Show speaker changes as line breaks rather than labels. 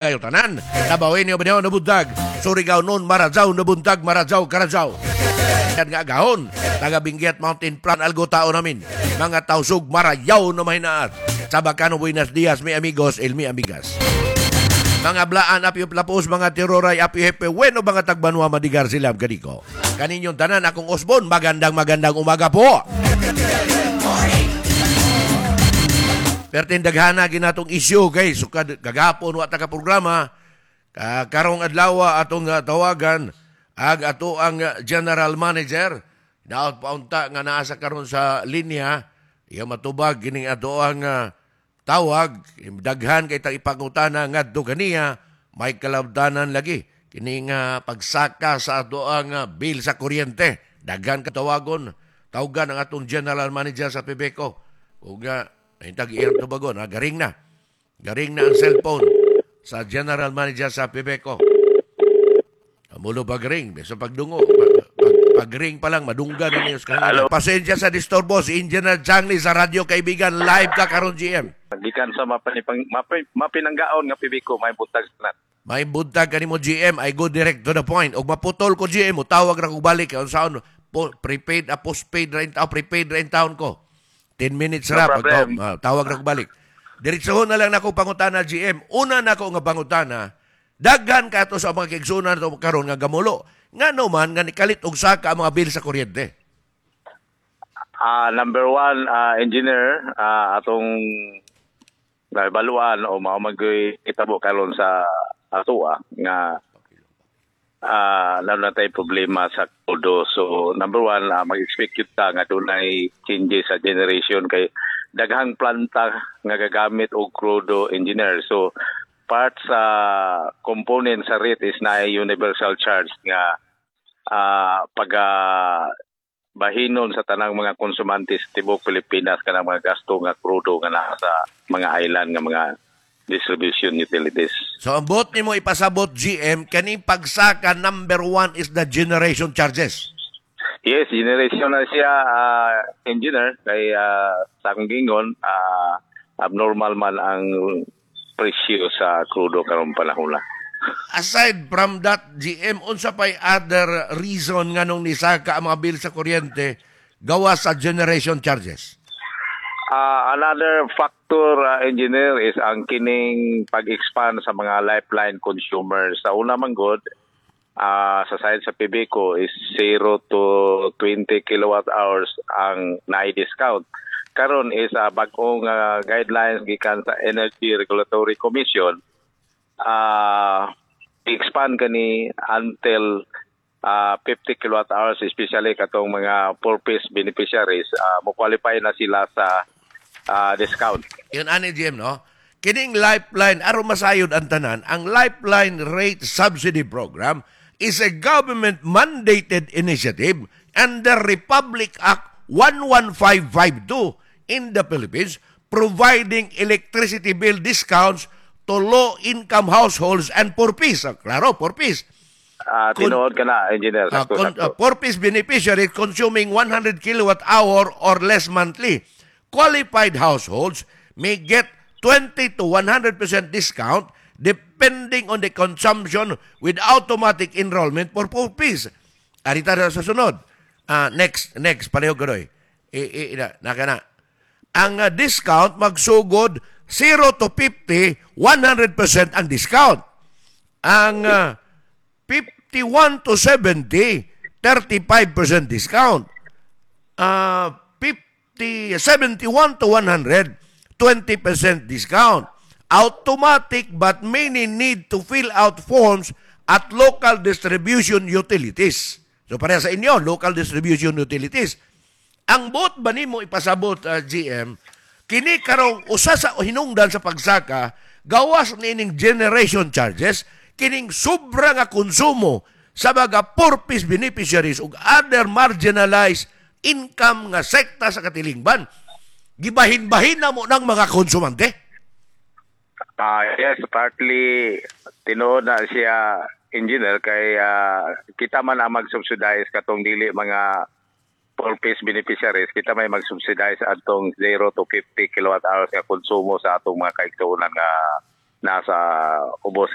Kayo tanan. Dabawenyo ba na buntag. Surigao nun, Maradjaw na buntag, Maradjaw, Karadjaw. Yan nga gahon. Taga Benguet Mountain Plan, algo tao namin. Mga tausug, Marayaw na mahinaat. Chabacano, buenos días, mi amigos, el mi amigas. Mga blaan, apyo plapos, mga tiroray, apyo hepe, bueno, mga tagbanwa, madigar sila, kadiko. Kaninyong tanan, akong osbon, magandang magandang umaga po. Pertin daghana ginatong issue kay sukad kagahapon wa ta ka programa ka karong adlaw atong tawagan ag ato ang general manager daot paunta nga naa sa karon sa linya iya matubag kining ato ang tawag. Daghan kay tag ipangutana ngadto kaniya, may kalabdanan lagi kining pagsaka sa ato ang bill sa kuryente. Daghan ka tawagon, tawagan ang atong general manager sa PEBECO ug Hintag iyang tubagon, ha? Garing na. Garing na ang cellphone sa general manager sa PEBECO. Mulo pag-ring, sa pagdungo. Pag-ring pa lang, madungga na niyo.
Hello.
Pasensya sa disturbo, si Engineer Changli sa Radyo Kaibigan, live ka karon, GM.
Gikan sa mapinanggaon nga PEBECO, may buntag na.
May buntag kanimo, GM, I go direct to the point. Og maputol ko, GM, mo tawag ra ko balik unsaon po, prepaid a postpaid ra in prepaid ra in taon ko. 10 minutes
No
ra
problem.
Tawag ra ko balik. Diretsohon na lang nako pangutana, GM. Una nako nga pangutana, daghan kato sa mga kaigsuonan to karon nga gamulo. Ngano man nga nikalit og saka ang mga bill sa kuryente?
Number one, engineer, atong nabaluan o mao mag'y itabo karon sa atoa nga lalo na tayo problema sa kodo. So number one, mag-expect yun ta nga dunay changes sa generation kay daghang planta nga gagamit og krudo, engineer. So part sa component sa rate is na universal charge nga pag bahinon sa tanang mga konsumante sa tibuok Pilipinas kanang mga gasto nga krudo nga naa sa mga island nga mga distribution utilities.
So ang buot nimo ipasabot, GM, kani pagsaka number one is the generation charges.
Yes, generation na siya, engineer, kay sa akong gingon, abnormal man ang presyo sa krudo karong panahon na.
Aside from that, GM, unsa pay other reason nganong nisaka ang mga bill sa kuryente gawa sa generation charges?
Another factor, engineer, is ang kining pag-expand sa mga lifeline consumers. Sa una man good, sa side sa PEBECO is 0 to 20 kilowatt hours ang na-discount. Karon is bag-ong guidelines gikan sa Energy Regulatory Commission, expand kani until 50 kilowatt hours, especially katong mga 4Ps beneficiaries, mo qualify na sila sa discount.
Yun ani, GM, no? Kining lifeline, aron masayod ang tanan, ang Lifeline Rate Subsidy Program is a government mandated initiative under Republic Act 11552 in the Philippines, providing electricity bill discounts to low-income households and 4Ps. Klaro, 4Ps.
Tinuod ka na, engineer. Sakto, sakto.
4Ps beneficiary consuming 100 kilowatt hour or less monthly. Qualified households may get 20 to 100% discount depending on the consumption with automatic enrollment for 4Ps. Arita na sa sunod. Next, next, pareho ganoy. I, na, naka na. Ang discount magsugod 0 to 50, 100% ang discount. Ang 51 to 70, 35% discount. 50, 71 to 100, 20% discount. Automatic, but many need to fill out forms at local distribution utilities. So para sa inyo, local distribution utilities. Ang buot ba nimo ipasabot, GM, kini karong usa sa hinungdan sa pagsaka, gawas nining generation charges, kining sobra nga konsumo sa mga 4Ps beneficiaries ug other marginalized income nga sekta sa katilingban. Gibahin-bahin na mo ng mga konsumante?
Yes, partly tinuod na siya, engineer, kay kita man ang mag-subsidize katong dili mga 4Ps beneficiaries, kita may mag-subsidize atong 0 to 50 kilowatt hours nga konsumo sa atong mga kaigsuonan nga Nasa ubos.